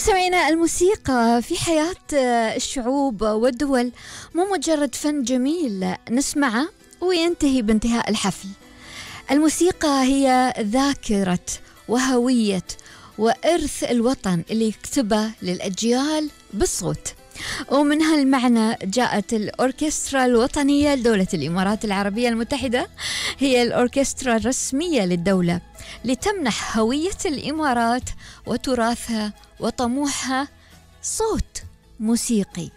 مستمعينا، الموسيقى في حياة الشعوب والدول مو مجرد فن جميل نسمعه وينتهي بانتهاء الحفل. الموسيقى هي ذاكرة وهوية وإرث الوطن اللي يكتبه للأجيال بالصوت. ومن هالمعنى جاءت الأوركسترا الوطنية لدولة الإمارات العربية المتحدة، هي الأوركسترا الرسمية للدولة لتمنح هوية الإمارات وتراثها وطموحها صوت موسيقي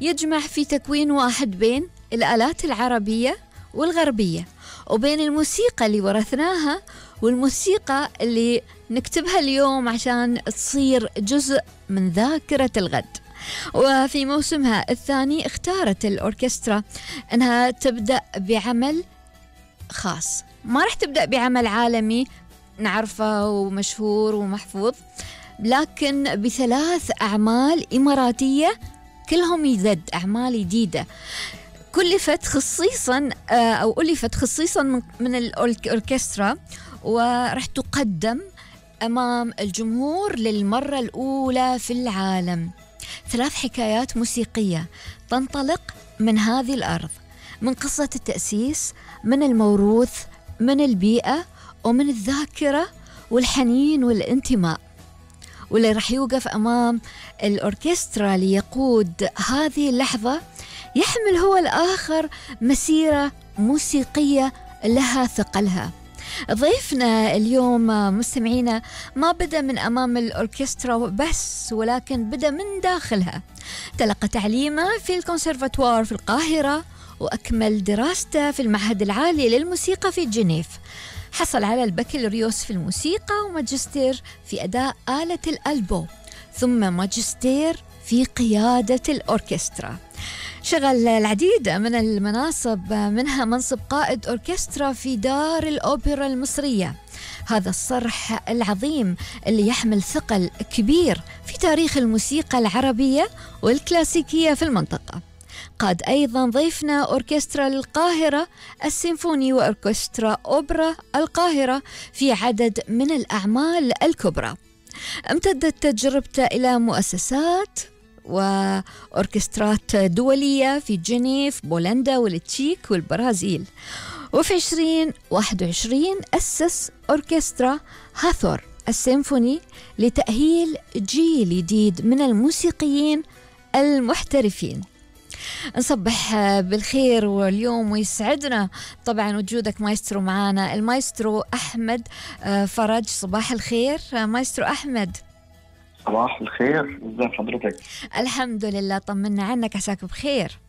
يجمع في تكوين واحد بين الآلات العربية والغربية، وبين الموسيقى اللي ورثناها والموسيقى اللي نكتبها اليوم عشان تصير جزء من ذاكرة الغد. وفي موسمها الثاني اختارت الأوركسترا أنها تبدأ بعمل خاص، ما رح تبدأ بعمل عالمي نعرفه ومشهور ومحفوظ، لكن بثلاث أعمال إماراتية كلهم يزد أعمال جديدة كلفت خصيصا أو ألفت خصيصا من الأوركسترا، ورح تقدم أمام الجمهور للمرة الأولى في العالم. ثلاث حكايات موسيقية تنطلق من هذه الأرض، من قصة التأسيس، من الموروث، من البيئة، ومن الذاكرة والحنين والانتماء. واللي رح يوقف أمام الأوركسترا ليقود هذه اللحظة يحمل هو الآخر مسيرة موسيقية لها ثقلها. ضيفنا اليوم مستمعينا ما بدأ من أمام الأوركسترا بس، ولكن بدأ من داخلها. تلقى تعليمه في الكونسرفاتوار في القاهرة، وأكمل دراسته في المعهد العالي للموسيقى في جنيف. حصل على البكالوريوس في الموسيقى وماجستير في أداء آلة الألبو، ثم ماجستير في قيادة الأوركسترا. شغل العديد من المناصب، منها منصب قائد أوركسترا في دار الأوبرا المصرية، هذا الصرح العظيم اللي يحمل ثقل كبير في تاريخ الموسيقى العربية والكلاسيكية في المنطقة. قاد أيضا ضيفنا أوركسترا القاهرة السيمفوني وأوركسترا أوبرا القاهرة في عدد من الأعمال الكبرى. امتدت تجربته إلى مؤسسات وأوركسترات دولية في جنيف، بولندا والتشيك والبرازيل. وفي 2021 أسس أوركسترا هاثور السيمفوني لتأهيل جيل جديد من الموسيقيين المحترفين. نصبح بالخير واليوم ويسعدنا طبعا وجودك مايسترو معانا، المايسترو أحمد فرج. صباح الخير مايسترو أحمد. صباح الخير، ازي حضرتك؟ الحمد لله، طمنا عنك، عساك بخير؟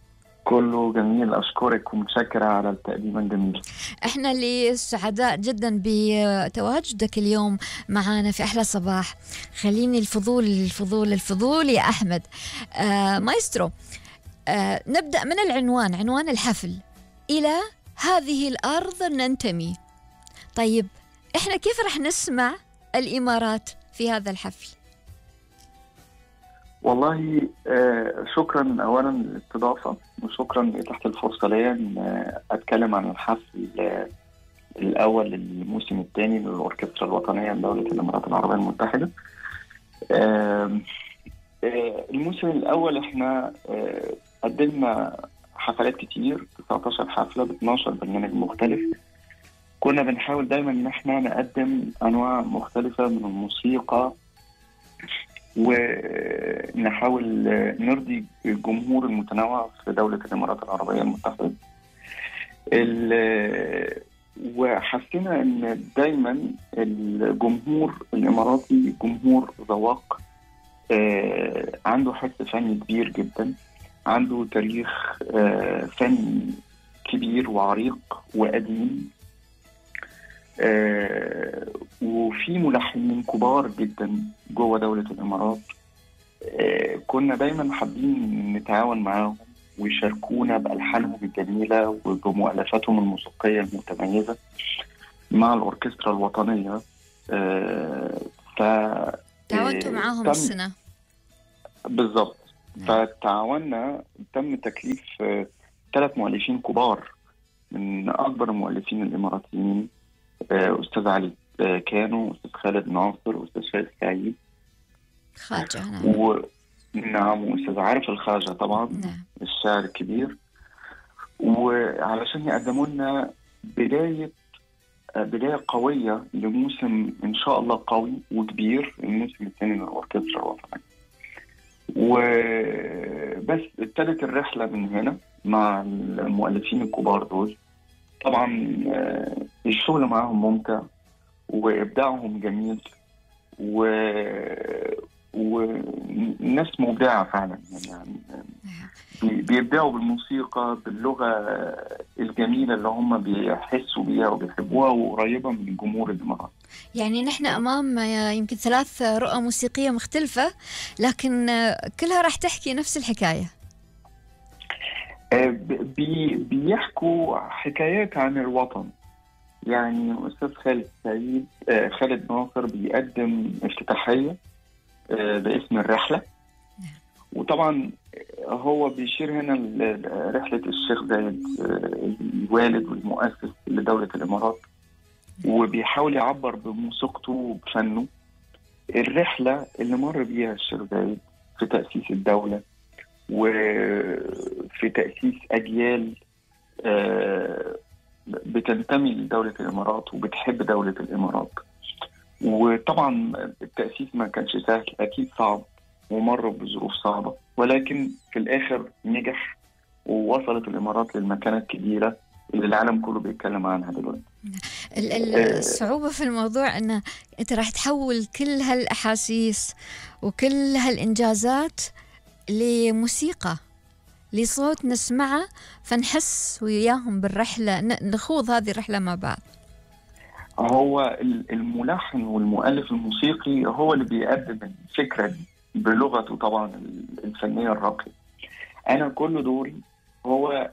كله جميل، أشكرك ومتشكرة على التقديم الجميل. احنا اللي سعداء جدا بتواجدك اليوم معانا في أحلى صباح. خليني الفضول يا أحمد. مايسترو، نبدأ من العنوان، عنوان الحفل: إلى هذه الأرض ننتمي. طيب إحنا كيف رح نسمع الإمارات في هذا الحفل؟ والله شكرا أولا للاستضافة، وشكرا تحت الفرصة لي أن أتكلم عن الحفل الأول للموسم الثاني للأوركسترا الوطنية لدولة الإمارات العربية المتحدة. الموسم الأول إحنا قدمنا حفلات كتير، 19 حفلة ب 12 برنامج مختلف. كنا بنحاول دايما ان احنا نقدم انواع مختلفة من الموسيقى، ونحاول نرضي الجمهور المتنوع في دولة الامارات العربية المتحدة. وحسينا ان دايما الجمهور الاماراتي جمهور ذواق، عنده حس فني كبير جدا، عنده تاريخ فني كبير وعريق وقديم، وفي ملحنين كبار جدا جوه دولة الإمارات. كنا دايما حابين نتعاون معاهم ويشاركونا بألحانهم الجميلة وبمؤلفاتهم الموسيقية المتميزة مع الأوركسترا الوطنية. تعاونتوا معاهم السنة بالضبط. فتعاوننا، تم تكليف 3 مؤلفين كبار من أكبر المؤلفين الإماراتيين، أستاذ علي كانوا، أستاذ خالد ناصر، وأستاذ فايز سعيد. خارجة. نعم. ونعم، وأستاذ عارف الخواجة طبعا، نعم. الشاعر الكبير. وعلشان يقدموا لنا بداية قوية لموسم إن شاء الله قوي وكبير، الموسم الثاني من الأوركسترا الوطنية. وبس ابتدت الرحلة من هنا مع المؤلفين الكبار دول. طبعا الشغل معهم ممتع وإبداعهم جميل، وناس مبدعة فعلا يعني بيبدعوا بالموسيقى باللغة الجميلة اللي هم بيحسوا بيها وبيحبوها وقريبة من الجمهور الإماراتي. يعني نحن أمام يمكن 3 رؤى موسيقية مختلفة، لكن كلها راح تحكي نفس الحكاية. بيحكوا حكايات عن الوطن. يعني أستاذ خالد ناصر بيقدم افتتاحية باسم الرحلة، وطبعا هو بيشير هنا لرحلة الشيخ زايد الوالد والمؤسس لدولة الإمارات، وبيحاول يعبر بموسيقته وبفنه الرحلة اللي مر بيها الشيخ زايد في تأسيس الدولة وفي تأسيس أجيال بتنتمي لدولة الإمارات وبتحب دولة الإمارات. وطبعا التأسيس ما كانش سهل، أكيد صعب ومر بظروف صعبة، ولكن في الآخر نجح ووصلت الإمارات للمكانة الكبيرة اللي العالم كله بيتكلم عنها دلوقتي. الصعوبة في الموضوع أنه أنت راح تحول كل هالأحاسيس وكل هالإنجازات لموسيقى، لصوت نسمعه، فنحس وياهم بالرحلة، نخوض هذه الرحلة مع بعض. هو الملحن والمؤلف الموسيقي هو اللي بيقدم الفكرة دي بلغته طبعا الفنية الراقية. أنا كل دوري هو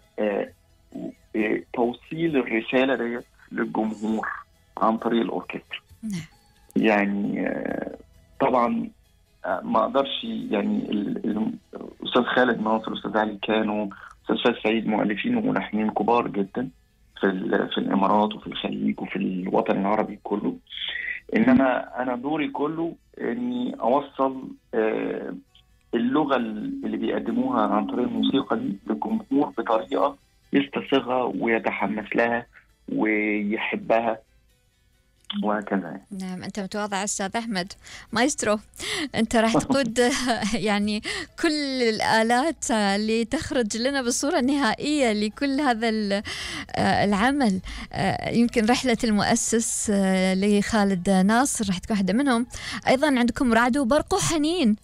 توصيل الرسالة دي للجمهور عن طريق الأوركسترا. يعني طبعا ما أقدرش، يعني الأستاذ خالد ناصر، الأستاذ علي كانوا، الأستاذ سعيد، مؤلفين وملحنين كبار جدا في الإمارات وفي الخليج وفي الوطن العربي كله. إنما أنا دوري كله إني أوصل اللغة اللي بيقدموها عن طريق الموسيقى دي للجمهور بطريقة يستسيغها ويتحمس لها ويحبها وهكذا. نعم. أنت متواضع أستاذ أحمد مايسترو، أنت راح تقود يعني كل الآلات اللي تخرج لنا بالصورة النهائية لكل هذا العمل. يمكن رحلة المؤسس لخالد ناصر راح تكون واحدة منهم. أيضا عندكم رعد وبرق وحنين.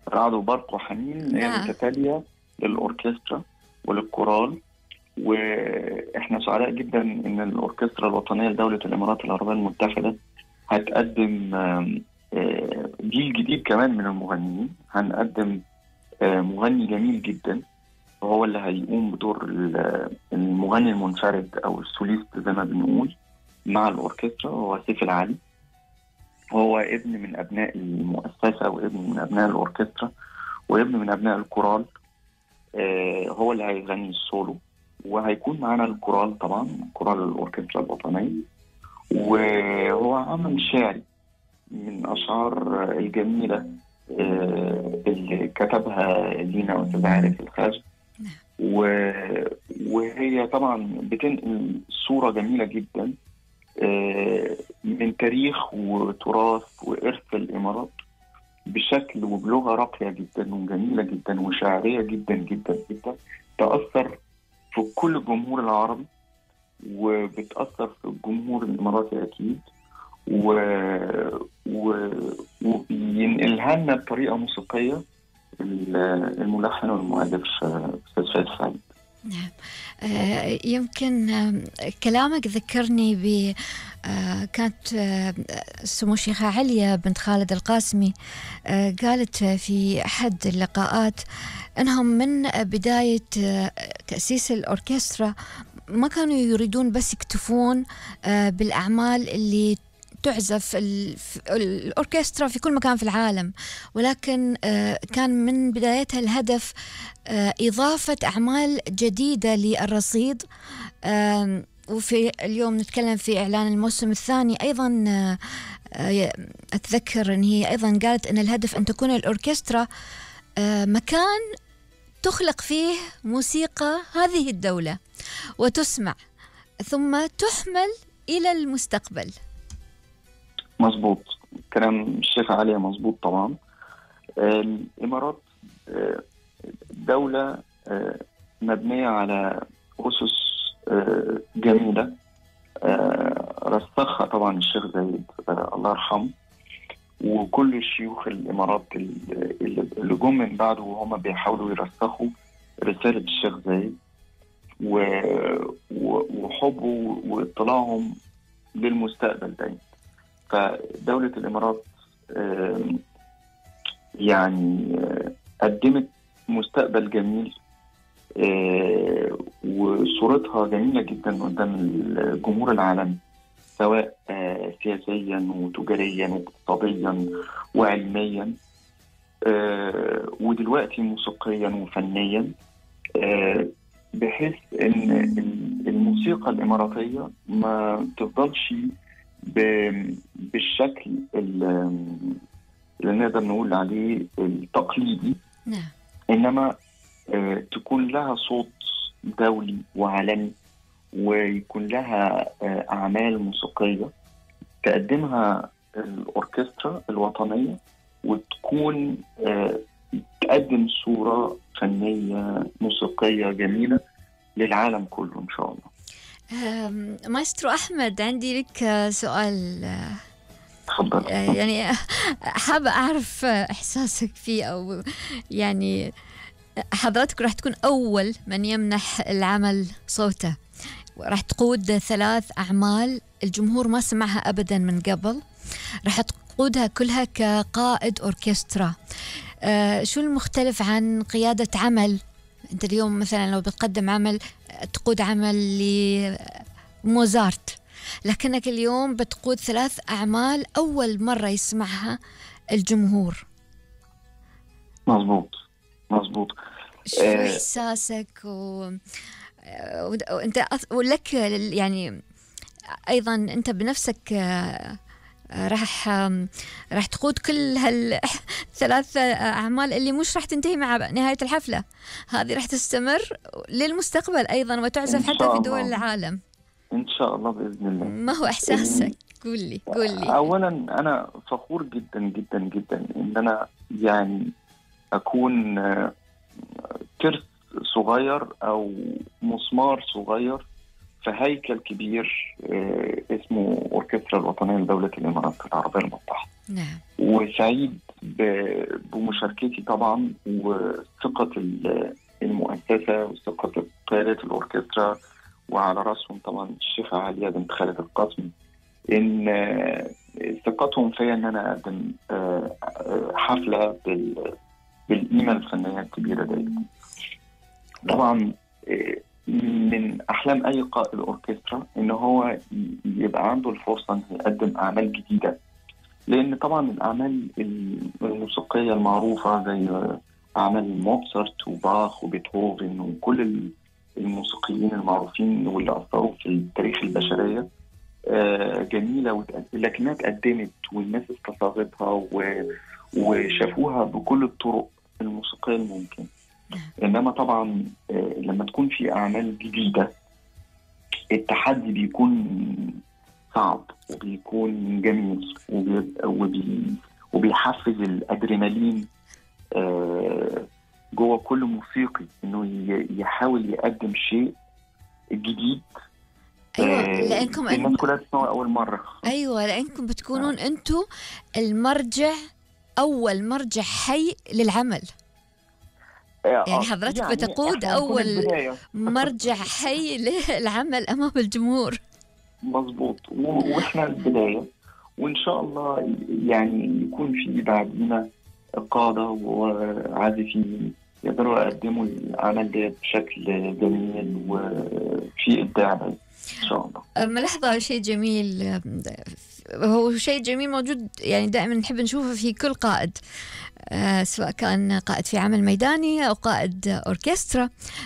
رعد وبرق وحنين هي متتالية للأوركسترا وللكورال، واحنا سعداء جدا ان الاوركسترا الوطنيه لدوله الامارات العربيه المتحده هتقدم جيل جديد كمان من المغنيين. هنقدم مغني جميل جدا وهو اللي هيقوم بدور المغني المنفرد او السوليست زي ما بنقول مع الاوركسترا، هو سيف العالي. هو ابن من ابناء المؤسسه وابن من ابناء الاوركسترا وابن من ابناء الكورال. هو اللي هيغني السولو، وهيكون معنا الكورال طبعا، كورال الأوركسترا الوطنية. وهو عمل شعري من أشعار الجميلة اللي كتبها لينا أستاذ عارف الخواجة، وهي طبعا بتنقل صورة جميلة جدا من تاريخ وتراث وإرث الإمارات بشكل وبلغة راقية جدا وجميلة جدا وشعرية جدا جدا جدا، تأثر في كل الجمهور العربي وبتأثر في الجمهور الإماراتي أكيد، وبينقلها لنا بطريقة موسيقية الملحن والمؤلف أستاذ فايز سعيد. نعم. يمكن كلامك ذكرني ب كانت سمو الشيخة عليا بنت خالد القاسمي قالت في أحد اللقاءات أنهم من بداية تأسيس الأوركسترا ما كانوا يريدون بس يكتفون بالأعمال اللي تعزف الأوركسترا في كل مكان في العالم، ولكن كان من بدايتها الهدف إضافة أعمال جديدة للرصيد. وفي اليوم نتكلم في إعلان الموسم الثاني أيضا أتذكر أن هي أيضا قالت أن الهدف أن تكون الأوركسترا مكان تخلق فيه موسيقى هذه الدولة وتسمع ثم تحمل إلى المستقبل. مظبوط كلام الشيخة عليا، مظبوط طبعا. الإمارات دولة مبنية على أسس جميلة رسخها طبعا الشيخ زايد الله يرحمه، وكل الشيوخ الإمارات اللي جم من بعده وهم بيحاولوا يرسخوا رسالة الشيخ زايد وحبه واطلاعهم للمستقبل دايما. فدولة الإمارات يعني قدمت مستقبل جميل وصورتها جميلة جدا قدام الجمهور العالمي، سواء سياسيا وتجاريا واقتصاديا وعلميا ودلوقتي موسيقيا وفنيا، بحيث ان الموسيقى الإماراتية ما تفضلش بالشكل اللي نقدر نقول عليه التقليدي، إنما تكون لها صوت دولي وعالمي، ويكون لها أعمال موسيقية تقدمها الأوركسترا الوطنية، وتكون تقدم صورة فنية موسيقية جميلة للعالم كله إن شاء الله. مايسترو أحمد، عندي لك سؤال. تفضل. يعني حابة أعرف إحساسك فيه، أو يعني حضرتك راح تكون أول من يمنح العمل صوته، راح تقود 3 أعمال الجمهور ما سمعها أبدا من قبل، راح تقودها كلها كقائد أوركسترا. شو المختلف عن قيادة عمل؟ أنت اليوم مثلا لو بتقدم عمل، تقود عمل لموزارت، لكنك اليوم بتقود 3 أعمال أول مرة يسمعها الجمهور. مظبوط. شو إحساسك وأنت ولك يعني أيضا أنت بنفسك راح تقود كل هال3 أعمال اللي مش راح تنتهي مع نهاية الحفلة، هذه راح تستمر للمستقبل أيضا وتعزف حتى في دول العالم إن شاء الله بإذن الله. ما هو إحساسك؟ قول لي. أولا أنا فخور جدا جدا جدا إن أنا يعني أكون ترس صغير أو مسمار صغير في هيكل كبير اسمه أوركسترا الوطنية لدولة الإمارات العربية المتحدة. نعم. وسعيد بمشاركتي طبعا، وثقة المؤسسة وثقة قيادة الأوركسترا، وعلى رأسهم طبعا الشيخة عليا بنت خالد القاسمي، إن ثقتهم فيا إن أنا أقدم حفلة بالقيمة الفنية الكبيرة دي. طبعا من أحلام أي قائد أوركسترا إن هو يبقى عنده الفرصة إنه يقدم أعمال جديدة، لأن طبعا الأعمال الموسيقية المعروفة زي أعمال موتسارت وباخ وبيتهوفن وكل الموسيقيين المعروفين واللي أثروا في التاريخ البشرية جميلة، لكنها تقدمت والناس استصاغتها وشافوها بكل الطرق الموسيقية الممكن. إنما طبعا لما تكون في أعمال جديدة التحدي بيكون صعب وبيكون جميل وبيحفز الأدرينالين جوه كل موسيقي إنه يحاول يقدم شيء جديد. أيوة، لأنكم الناس كلها تسمعوا أول مرة. أيوة، لأنكم بتكونون أنتوا المرجع، أول مرجع حي للعمل. يعني حضرتك يعني بتقود أول مرجع حي للعمل أمام الجمهور. مظبوط، وإحنا البداية، وإن شاء الله يعني يكون في بعدنا قادة وعازفين يقدروا يقدموا العمل ده بشكل جميل وفي إبداع إن شاء الله. ملاحظة شيء جميل، هو شيء جميل موجود يعني دائما نحب نشوفه في كل قائد، سواء كان قائد في عمل ميداني أو قائد أوركسترا.